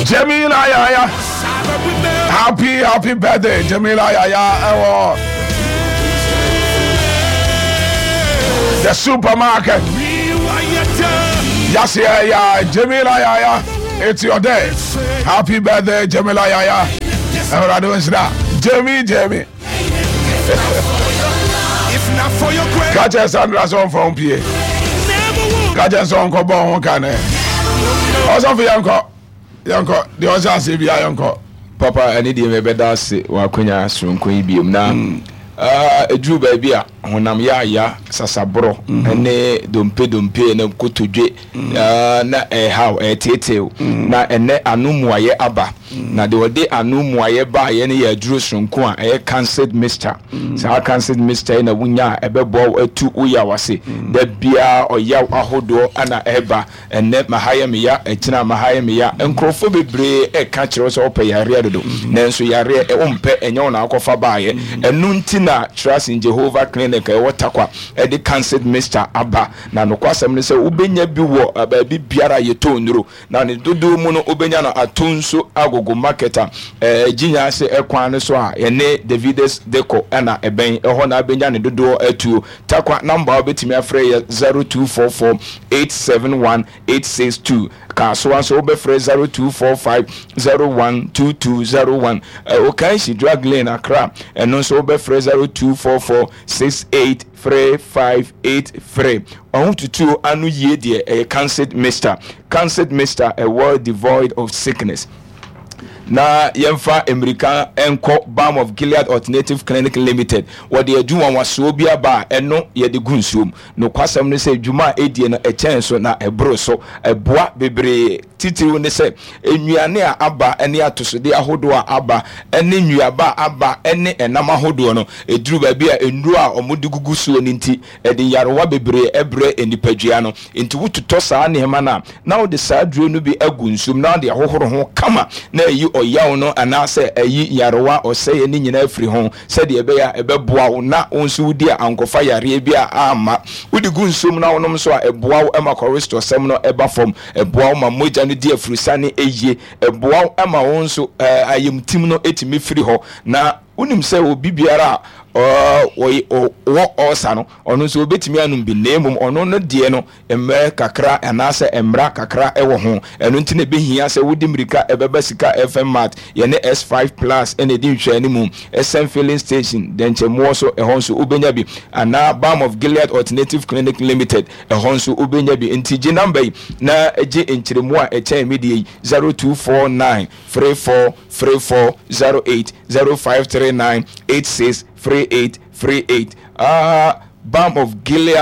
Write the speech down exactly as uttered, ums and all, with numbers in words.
Jamila Yaya, happy happy birthday, Jamila Yaya, ɛwɔ the supermarket. Yasi ya Jamila Yaya, it's your day. Happy birthday, Jamila Yaya. Awurade nhyira Jamie Jamie. Ka kyerɛ Sandra sɛ ɔmfa wo mpie. Ka kyerɛ sɛ ɔnkɔbɔ ho ka nɛ. Ɔsɔfo, yɛnkɔ, yɛnkɔ deɛ ɔhyɛ aseɛ bia, yɛnkɔ. Papa, ɛne deɛ mɛbɛda ase wɔ akwanya soronko yi biom na ɛduru baabi a honam yɛ aya, sasaborɔ ne dompe dompe na kotodwe na ɛhaw ɛteetew, na ɛnɛ ano mmuayɛ aba. Na deɛ ɔde ano mmuayɛ baayɛ no yɛ aduro soronko a ɛyɛ Cancer Mixture. Saa Cancer Mixture yi na wonya a, ɛbɛboa wo atu wo yaw ase. Da biara ɔyaw ahodoɔ ana ɛba. Ɛnɛ maha yɛ meya, ɛkyina maha yɛ meya. Nkurɔfoɔ bebree ɛka kyerɛ wo sɛ wopɛ yareɛ dodo, nanso yareɛ wompɛ, ɛnyɛ wo na akɔfa baayɛ. Ɛno nti na Trust in Jehovah Clinic a ɛwɔ Takwa ɛde Cancer Mixture aba. Na nokwasɛm no sɛ wobɛnya bi wɔ baabi biara a yɛtɔ nnuro, na ne dodoɔ mu no wobɛnya no ato nso Agogo Market a gyinya ase ɛkwan no so a yɛne Davides Deco ɛna ɛbɛn ɛhɔ na abɛnya ne dodoɔ atuo. Takwa number a wobɛtumi afrɛ yɛ zero two four four eight seven one eight six two. Kaasoa nso wobɛfrɛ zero two four five zero one two two zero one. Okaishie Drug Lane, Accra, ɛno nso wobɛfrɛ zero two four four six eight three five eight three. Ɔho tutuo ano yie deɛ, ɛyɛ Cancer Mixture. Cancer Mixture, a world devoid of sickness. Na yɛmfa mmirika nkɔ Balm of Gilead Alternative Clinic Limited. Wɔde adwuma nwasoɔ bi aba a ɛno yɛde gu nsuom. Nokwasɛm no sɛ dwuma a ɛdie no ɛkyɛn so na ɛboro so, ɛboa bebree. Titiriw ne sɛ nnuane a aba ne atosodeɛ ahodoɔ a aba ne nnuaba a aba ne ɛnam ahodoɔ no, ɛduru baabi a nnuro a wɔde gugu soɔ no nti ɛde nyarewa bebree ɛbrɛ nipadua no. Nti wototɔ saa nneɛma no a, na wode saa duro no bi agu nsuom na wode ahohoro ho kama na ɛyi ɔyaw no anaasɛ ɛyi nyarewa ɔsɛeɛ no nyinaa firi ho, sɛdeɛ ɛbɛyɛ a ɛbɛboa wo na wo nso wodi a ankɔfa yareɛ bi a amma. Wode gu nsuom na wonom nso a, ɛboa wo ma cholesterol sɛm no ɛba fam, ɛboa wo ma mogya no di afurusane ɛyie, ɛboa wo ma wo nso ayamtim no ɛtumi firi hɔ. Na wonim sɛ obi biara a ɔwɔ ɔɔsa no, ɔno nso obɛtumi anom bi, na mmom ɔno no deɛ no mmerɛ kakra anaasɛ mmara kakra ɛwɔ ho. Ɛno nti na ɛbɛhia sɛ wode mmirika ɛbɛba Sika F M Mart, yɛne S five Plus ɛna ɛdi nhwɛane mu, S M Filling Station dɛnkyɛmmoɔ so, ɛhɔ nso wobɛnya bi, anaa Balm of Gilead Alternative Clinic Limited, ɛhɔ nso wobɛnya bi. Nti gye number yi na gye nkyerɛmu a ɛkyɛn mi deɛ yi: zero two four nine three four three four zero eight, zero five three nine eight six three eight three eight. Ah, Balm of Gilead.